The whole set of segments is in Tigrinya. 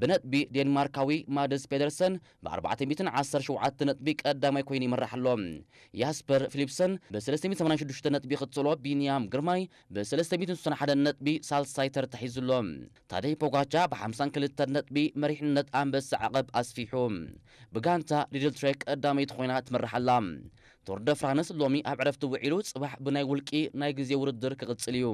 ብነጥቢ ዴንማርካዊ ማድስ ፔደርሰን ብ ኣርባዕተ ሚእትን ዓሰርተ ሸውዓተ ነጥቢ ቀዳማይ ኮይኑ ይመራሕ ኣሎ። ያስፐር ፊሊፕሰን ብ ሰለስተ ሚእትን ሰማንያን ሽዱሽተ ነጥቢ ይኽተሎ። ቢንያም ግርማይ ብ ሰለስተ ሚእትን ስሳን ሓደ ነጥቢ ሳልሳይ ተርታ ሒዙ ኣሎ። ታደይ ፖጋቻ ብ ሓምሳን ክልተን ነጥቢ መሪሕነት ኣንበሳ ዓቐብ ኣስፊሑ። ብጋንታ ሊድል ትሬክ ቀዳመይቲ ኮይና ትመርሕ ኣላ። ቱር ደ ፍራንስ ሎሚ ኣብ ዕረፍቲ ውዒሉ፣ ጽባሕ ብናይ ውልቂ ናይ ግዜ ውድድር ክቕጽል እዩ።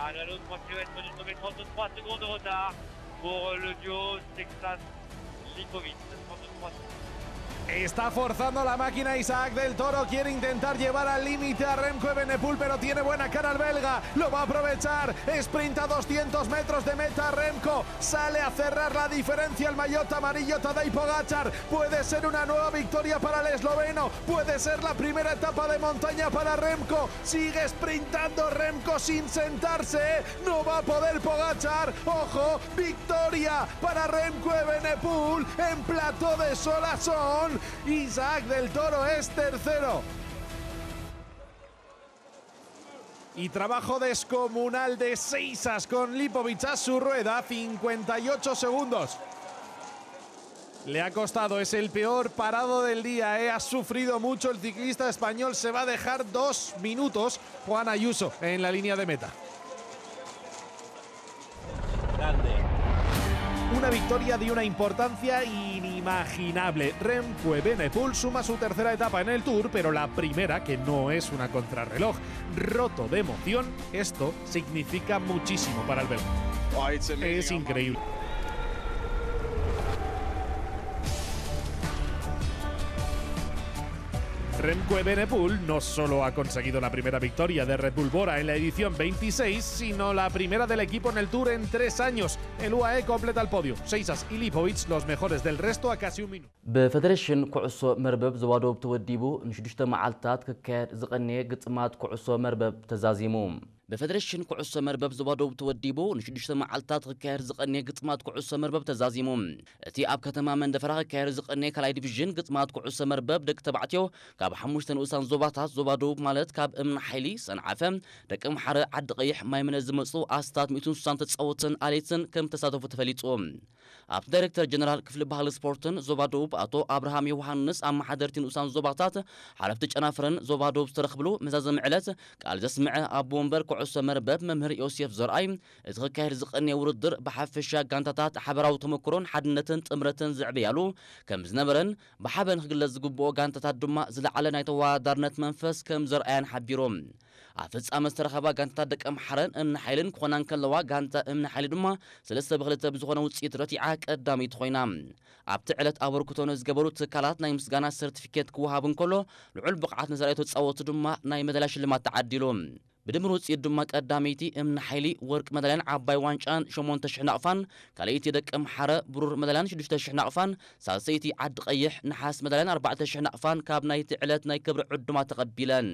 Ah, la l'autre qui va être de trente-trois secondes de retard pour euh, le duo Texas-Lipovic. trente-trois secondes. Está forzando la máquina Isaac del Toro, quiere intentar llevar al límite a Remco Evenepoel, pero tiene buena cara el belga, lo va a aprovechar, sprinta doscientos metros de meta Remco, sale a cerrar la diferencia el maillot amarillo Tadej Pogacar, puede ser una nueva victoria para el esloveno, puede ser la primera etapa de montaña para Remco, sigue sprintando Remco sin sentarse, ¿eh? No va a poder Pogacar, ojo, victoria para Remco Evenepoel en plató de Solason. Isaac del Toro es tercero. Y trabajo descomunal de Seisas con Lipovic a su rueda, cincuenta y ocho segundos. Le ha costado, es el peor parado del día, ¿eh? Ha sufrido mucho el ciclista español, se va a dejar dos minutos Juan Ayuso en la línea de meta. Una victoria de una importancia inimaginable. Remco Evenepoel suma su tercera etapa en el Tour, pero la primera que no es una contrarreloj. Roto de emoción, esto significa muchísimo para el belga. Es increíble. Remco Evenepoel no solo ha conseguido la primera victoria de Red Bull Bora en la edición veintiséis, sino la primera del equipo en el Tour en tres años. El U A E completa el podio. Seisas y Lipovic, los mejores del resto, a casi un minuto. ብፈደሬሽን ኩዕሶ መርበብ ዞባ ደቡብ ተወዲቡ ንሽዱሽተ መዓልታት ክካየድ ዝቐነየ ግጥማት ኩዕሶ መርበብ ተዛዚሙ። ብፈደሬሽን ኩዕሶ መርበብ ዞባ ደቡብ ተወዲቡ ንሽዱሽተ መዓልታት ክካየድ ዝቐነየ ግጥማት ኩዕሶ መርበብ ተዛዚሙ። እቲ ኣብ ከተማ መንደፈራ ክካየድ ዝቐነየ ካልኣይ ዲቪዥን ግጥማት ኩዕሶ መርበብ ደቂ ተባዕትዮ ካብ ሓሙሽተ ንኡሳን ዞባታት ዞባ ደቡብ ማለት ካብ እምኒ ሓይሊ፣ ሰንዓፈ፣ ደቂ ኣምሓረ፣ ዓዲ ቀይሕ፣ ማይ ምነ ዝመጹ ኣስታት ሚእትን ስሳን ተጻወትን ኣሌትን ከም ተሳተፉ ተፈሊጡ። ኣብቲ ዳይሬክተር ጀነራል ክፍሊ ባህሊ ስፖርትን ዞባ ደቡብ ኣቶ ኣብርሃም ዮሃንስ ኣመሓደርቲ ንኡሳን ዞባታት ሓለፍቲ ጨናፍርን ዞባ ደቡብ ዝተረኽብሉ መዛዘሚ ዕለት ቃል ዘስምዐ ኣቦ ወንበር ኩዕሶ መርበብ መምህር ዮሴፍ ዘርኣይ እቲ ክካየድ ዝቐነየ ውድድር ብሓፈሻ ጋንታታት ሓበራዊ ተመክሮን ሓድነትን ጥምረትን ዘዕበያሉ ከም ዝነበረን ብሓበን ክግለጽ ዝግብኦ ጋንታታት ድማ ዝለዓለ ናይ ተወዳዳርነት መንፈስ ከም ዘርኣያን ሓቢሩ። ኣብ ፍጻመ ዝተረኸባ ጋንታታት ደቂ ኣምሓረን እምኒ ሓይልን ክኾና እንከለዋ ጋንታ እምኒ ሓይሊ ድማ ሰለስተ ብክልተ ብዝኾነ ውፅኢት ረቲዓ ቀዳመይቲ ኮይና። ኣብቲ ዕለት ኣበርክቶ ንዝገበሩ ትካላት ናይ ምስጋና ሰርቲፊኬት ክወሃብ እንከሎ ልዑል ብቕዓት ንዘርኣዩ ተፃወቱ ድማ ናይ መዳልያ ሽልማት ተዓዲሉ። ብድምር ውፅኢት ድማ ቀዳመይቲ እምኒ ሓይሊ ወርቂ መዳልያን ዓባይ ዋንጫን ሸሞንተ ሽሕ ናቕፋን፣ ካልኣይቲ ደቂ ኣምሓረ ብሩር መዳልያን ሽዱሽተ ሽሕ ናቕፋን፣ ሳልሰይቲ ዓዲ ቀይሕ ነሓስ መዳልያን ኣርባዕተ ሽሕ ናቕፋን ካብ ናይቲ ዕለት ናይ ክብሪ ዕዱማት ተቐቢለን።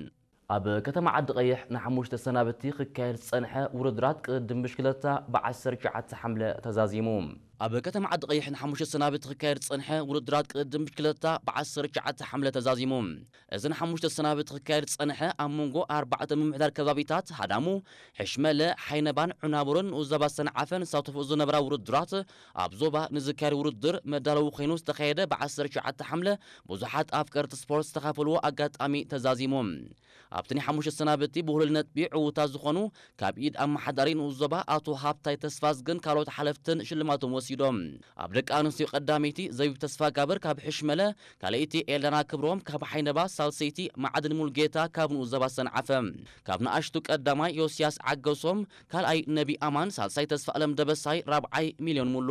ኣብ ከተማ ዓዲ ቀይሕ ንሓሙሽተ ሰናብቲ ክካየድ ዝጸንሐ ውድድራት ቅድድም ብሽክለታ ብ ዓሰርተ ትሽዓተ ሓምለ ተዛዚሙ። ኣብ ከተማ ዓዲ ቀይሕ ንሓሙሽተ ሰናብቲ ክካየድ ዝጸንሐ ውድድራት ቅድድም ብሽክለታ ብ ዓሰርተ ትሽዓተ ሓምለ ተዛዚሙ። እዚ ንሓሙሽተ ሰናብቲ ክካየድ ዝጸንሐ ኣብ መንጎ ኣርባዕተ ምምሕዳር ከባቢታት ሃዳሙ፣ ሕሽመለ፣ ሓይነባን ዑናቡርን ንኡስ ዞባ ሰንዓፈን ዝሳተፉ ዝነበራ ውድድራት ኣብ ዞባ ንዝካየድ ውድድር መዳለዊ ኮይኑ ዝተኻየደ ብ ዓሰርተ ትሽዓተ ሓምለ ብዙሓት ኣፍቀርቲ ስፖርት ዝተኻፈልዎ ኣጋጣሚ ተዛዚሙ። ኣብቲ ናይ ሓሙሽተ ሰናብቲ ብሁሉል ነጥቢ ዕዉታት ዝኾኑ ካብ ኢድ ኣመሓዳሪ ንኡስ ዞባ ኣቶ ሃብታይ ተስፋዝግን ካልኦት ሓለፍትን ሽልማቶም ወሲዶም። ኣብ ደቂ ኣንስትዮ ቀዳመይቲ ዘቢብ ተስፋጋብር ካብ ሕሽመለ፣ ካልኣይቲ ኤልዳና ክብሮም ካብ ሓይነባ፣ ሳልሰይቲ ማዕድን ሙልጌታ ካብ ንኡስ ዞባ ሰንዓፈ። ካብ ንኣሽቱ ቀዳማይ ዮስያስ ዓገሶም፣ ካልኣይ ነቢ ኣማን፣ ሳልሳይ ተስፋ ኣለም ደበሳይ፣ ራብዓይ ሚልዮን ሙሉ።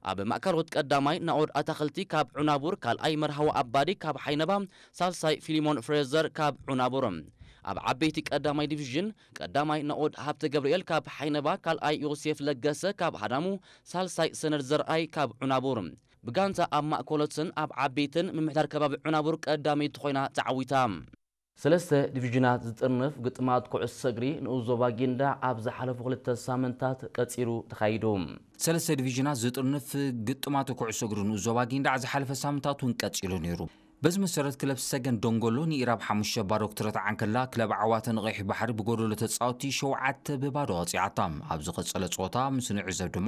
ኣብ ማእከሎት ቀዳማይ ናኦድ ኣታኽልቲ ካብ ዑናቡር፣ ካልኣይ መርሃዊ ኣባዲ ካብ ሓይነባ፣ ሳልሳይ ፊሊሞን ፍሬዘር ካብ ዑናቡር። ኣብ ዓበይቲ ቀዳማይ ዲቪዥን ቀዳማይ ናኦድ ሃብተ ገብርኤል ካብ ሓይነባ፣ ካልኣይ ዮሴፍ ለገሰ ካብ ሃዳሙ፣ ሳልሳይ ሰነድ ዘርኣይ ካብ ዑናቡር። ብጋንታ ኣብ ማእከሎትን ኣብ ዓበይትን ምምሕዳር ከባቢ ዑናቡር ቀዳመይቲ ኮይና ተዓዊታ። ሰለስተ ዲቪዥናት ዝጥርንፍ ግጥማት ኩዕሶ እግሪ ንኡስ ዞባ ጊንዳዕ ኣብ ዝሓለፉ ክልተ ሳምንታት ቀጺሉ ተኻይዱ። ሰለስተ ዲቪዥናት ዝጥርንፍ ግጥማት ኩዕሶ እግሪ ንኡስ ዞባ ጊንዳዕ ዝሓለፈ ሳምንታት እውን ቀጺሉ ነይሩ። በዚ መሰረት ክለብ ሰገን ደንጎሎ ንኢራብ ሓሙሽተ ባዶ ክትረትዓ እንከላ፣ ክለብ ዓዋተ ንቐይሕ ባሕሪ ብጎደሎ ተጻወትቲ ሸውዓተ ብባዶ ቀጺዓታ። ኣብ ዝቐጸለ ጸወታ ምስ ንዕዘብ ድማ